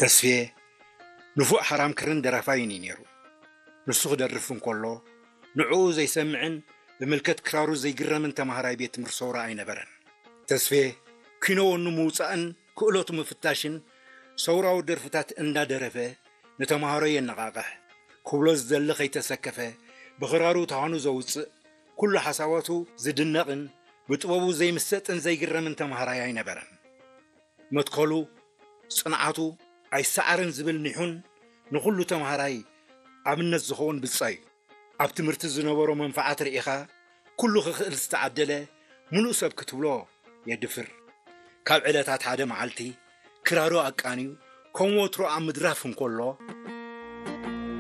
ተስፌ ንፉዕ ሓራም ክርን ደራፋይን እዩ ነይሩ። ንሱ ክደርፍ እንከሎ ንዕኡ ዘይሰምዕን ብምልከት ክራሩ ዘይግረምን ተማሃራይ ቤት ትምህርቲ ሰውራ ኣይነበረን። ተስፌ ኪኖ ወኑ ምውጻእን ክእለቱ ምፍታሽን ሰውራዊ ደርፍታት እንዳደረፈ ንተማሃሮ የነቓቕሕ። ክብሎ ዝደሊ ከይተሰከፈ ብኽራሩ ተሃኑ ዘውጽእ ኩሉ ሓሳባቱ ዝድነቕን ብጥበቡ ዘይምሰጥን ዘይግረምን ተማሃራይ ኣይነበረን። መትከሉ፣ ጽንዓቱ፣ ኣይሰዓርን ዝብል ኒሑን ንኹሉ ተማሃራይ ኣብነት ዝኸውን ብጻ እዩ። ኣብ ትምህርቲ ዝነበሮ መንፍዓት ርኢኻ ኩሉ ክኽእል ዝተዓደለ ምሉእ ሰብ ክትብሎ የድፍር። ካብ ዕለታት ሓደ መዓልቲ ክራሩ ኣቃንዩ ከም ወትሮ ኣብ ምድራፍ እንከሎ